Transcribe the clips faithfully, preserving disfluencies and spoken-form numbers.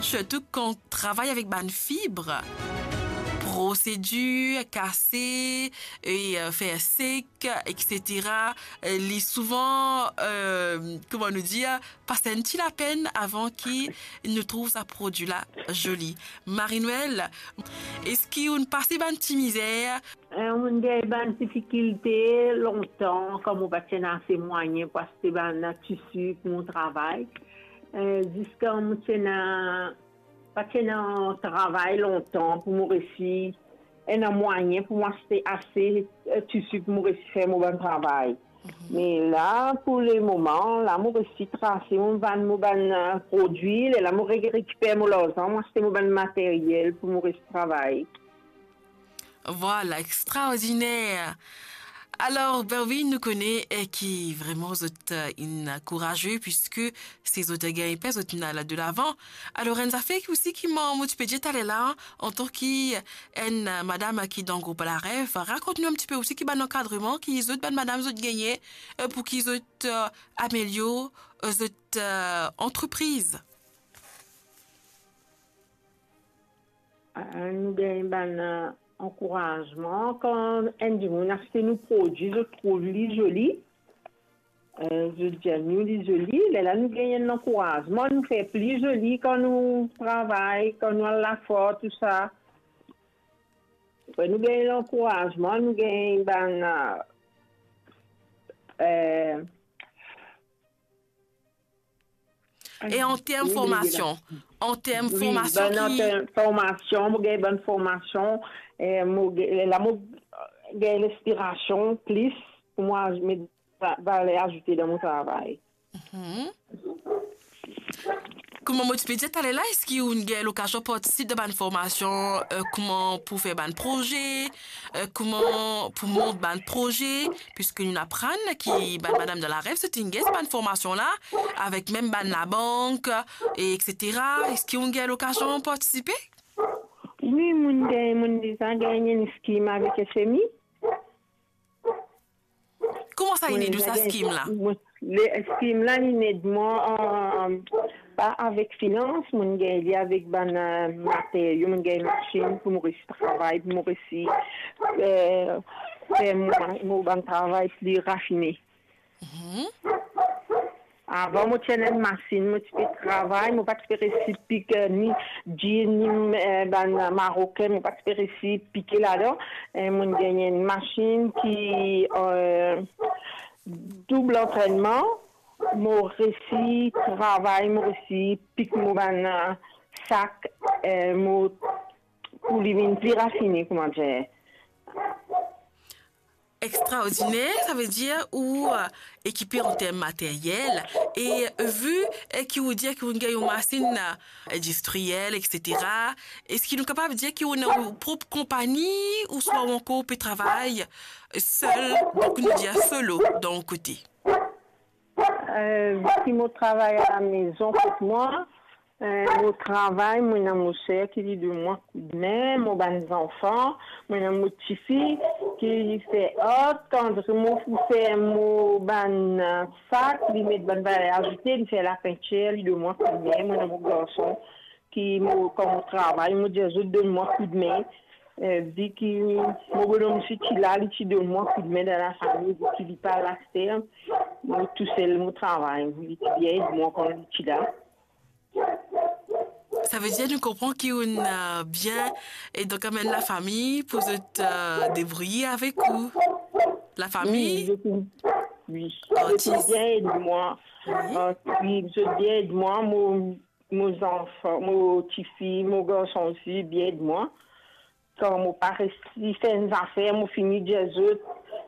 Sirtou kan travay avek bann fib, prosedir, kase, e, euh, fer sek, et cetera. Euh, li souvan, euh, kouma nou dir, pas enn ti lapenn avan ki nou trouv sa prodwi la zoli. Marie-Noëlle, eski ou'nn pase bann ti mizer? Eh, mo'nn gagn bann difikilte lontan, kan mo pa ti ena ase mwayin pou aste bann tisi pou mo travay. Eh, ziska mo ti ena, pa ti ena travay lontan pou mo resi ena mwayin pou mo aste ase, eh, tisi pou mo resi fer mo bann travay. Me la, pou lemoman, la mo resi trase, mo vann mo bann, eh, prodwi, lerla mo re-, rekiper mo larzan, mo aste mo bann materyel pou mo resi travay. Vwala, extraordiner. Alor, ben wi, nou kone, eh, ki vreman zot, eh, inn kouraze, piski si zot gagn pe, zot inn al de lavan. Alor, enn zafer ki osi ki mo, mo ti pe dir taler la, antan ki enn, eh, madam ki dan group Larev, rakont nou enn tipe osi ki bann ankadreman ki zot, bann madam, zot gagne, eh, pou ki zot, eh, amelior, eh, zot, eh, antrepriz. Eh, nou gagn bann, eh, ankourazman. Kan enn dimoun aste nou prodwi, zot trouv li zoli, eh, zot dir nou li zoli, lerla nou gagn enn ankourazman, nou fer pli zoli kan nou travay, kan nou al lafor, tou sa. Apre nou gagn lankourazman, nou gagn bann, eh, E an term formasion, an term formasion, an term formasion, mo gagn bann formasion, eh, mo gagn, la mo gagn linspirasion plis pou mo az-, met va-, valer azoute dan mo travay. Kouma mo ti pe dir taler la, eski ou'nn gagn lokazion partisip dan bann formasion, eh, kouma pou fer bann proze, eh, kouma pou mont bann proze, piski nou'nn aprann ki bann madam dan Larev, zot inn gagn bann formasion la, avek mem bann labank, e et cetera. Eski ou'nn gagn lokazion partisipe? Wi, mo'nn gagn, mo'nn deza gagn enn skim avek S M I. Kouma sa inn ed ou sa skim la? Wi, le skim la, li inn ed mwa, eh, pa avek finans, mo'nn gagn li avek bann, eh, materio, mo'nn gagn masinn pou mo resi travay, pou mo resi, eh, fer mo, mo bann travay pli rafine. Avan, mo ti ena enn masinn, mo ti pe travay, mo pa ti pe resi pik, eh, ni djin, ni, eh, bann Marokin, mo pa ti pe resi pike ladan. Eh, mo'nn gagn enn masinn ki, eh, doub antrennman, mo resi travay, mo resi pik mo bann, eh, sak, eh, mo, pou li vinn pli rafine, kouma dir. Extraordiner, savedir ou, eh, ekipe an term materyel, e, eh, vi, eh, ki ou dir ki ou gagn masinn, eh, indistriel, et cetera, eski nou kapav dir ki ou ena ou prop konpagni, ouswa ou ankor pe travay sel, donk nou dir solo, dan ou kote? Eh, si mo travay alamezon kot mwa, eh, mo travay, mo ena mo ser ki li donn mwa koudme, mo bann zanfan, mo ena mo tifi ki li fer art, kan mo pou fer mo bann, eh, sak, li met bann valer azoute, li fer lapintir, li donn mwa koudme, mo ena mo garson, ki mo, kan mo travay, mo dir zot donn mwa koudme. Eh, vi ki mo bonom ti la, li ti donn mwa koudme dan lafami, vi ki li pa la aster, mo tousel mo travay, li ti bien ed mwa kan li ti la. Savedir nou konpran ki ou, eh, bien, e donk amenn lafami pou zot, eh, debrouye avek ou. Lafami? Wi, zot, wi. Zot ti bien ed mwa. Wi. Eh, wi, zot bien ed mwa, mo mo zanfan, mo tifi, mo garson osi, bien ed mwa. Kan mo pa resi fer enn zafer, mo fini dir zot,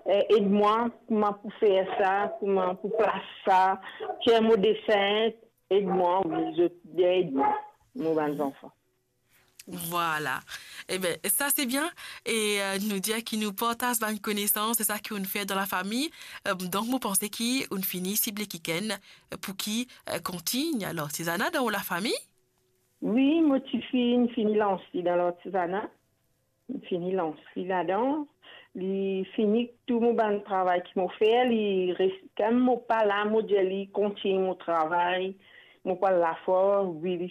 eh, ed mwa, kouma pou fer sa, kouma pou plas sa, tir mo desin, ed mwa, wi, zot bien ed mwa, mo bann zanfan. Vwala. Eben, sa se bien. E, eh, nou dir ki nou partaz bann konesans, se sa ki ou'nn fer dan lafami. Eh, donk, mo panse ki ou'nn fini sible kikenn, eh, pou ki, eh, kontign lartizana dan ou lafami? Wi, mo tifi, li fini lans li dan lartizana. Li fini lans li ladan. Li fini tou mo bann travay ki mo fer, li res-, kan mo pa la, mo dir li kontign mo travay. Mo pa lafor, wi, li